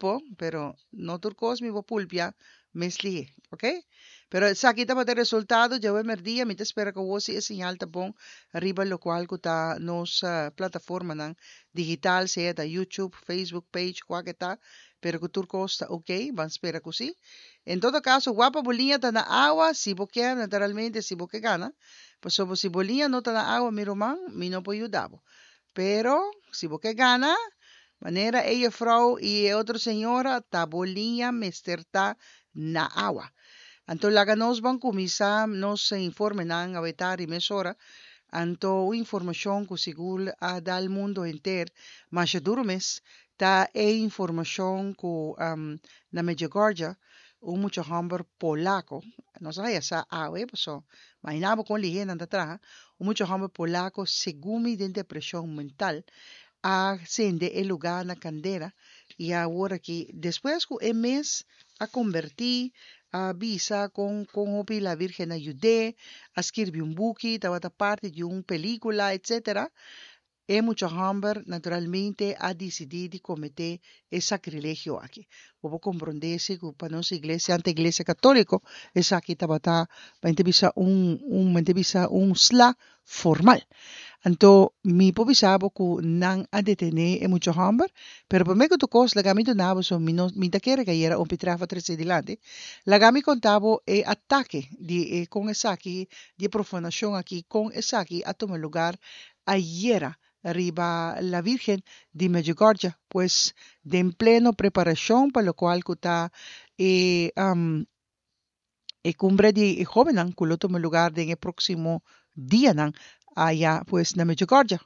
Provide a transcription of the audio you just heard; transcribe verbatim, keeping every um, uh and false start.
pulpo, pero no tur kos mi por pulpia mes lihe, ok? Pero esaki tabata e resultado djawe merdia, mi ta spera ku awor si e señal ta bon riba lokual ku ta nos plataformanan digital, sea ta YouTube, Facebook page, kua ke ta, pero ku tur kos ta ok, ban spera ku si. En todo kaso, wapa bo liña ta na awa, si bo kier, naturalmente, si bo ke gana, pasobra si bo liña no ta na awa, mi ruman, mi no por yuda bo. Pero, si bo ke gana, manera e jefrouw i e otro señora, ta bo liña mester ta na awa. Anto laga nos ban kuminsá nos informenan awetá ri mesora. Anto un informashon ku sigur a dal mundo henter masha duru mes ta e informashon ku na Medjugorje un mucha hòmber polako, nos a haya sa awe paso imaginá bo kon lihé nan ta traha, un mucha hòmber polako segun mi den depreshon mental a sende e lugá na kandera i awor aki despues ku e mes a kombertí a bisa kon kon hopi la Virgen a yud'é, a skirbi un buki, tabata parti di un pelíkula etcetera. E mucha hòmber naturalmente a disidí di kometé e sakrilegio aki. Bo por komprondé si ku pa nos iglesia, ante iglesia katóliko, esaki tabata, mente bisa un un mente bisa un sla formal. Anto mi por bisa bo ku nan a detené e mucha hòmber, pero promé ku tur kos laga mi duna bo, so mi no mi ta kere ku ayera un pitrafa trese dilanti, laga mi konta bo e atake di e kon esaki, di e profanashon aki, kon esaki a tuma lugar ayera riba La Virgen di Medjugorje, pues den pleno preparashon pa lokual ku ta e e kumbre di e hóbennan ku lo tuma lugar den e próksimo dianan aya pues na Medjugorje.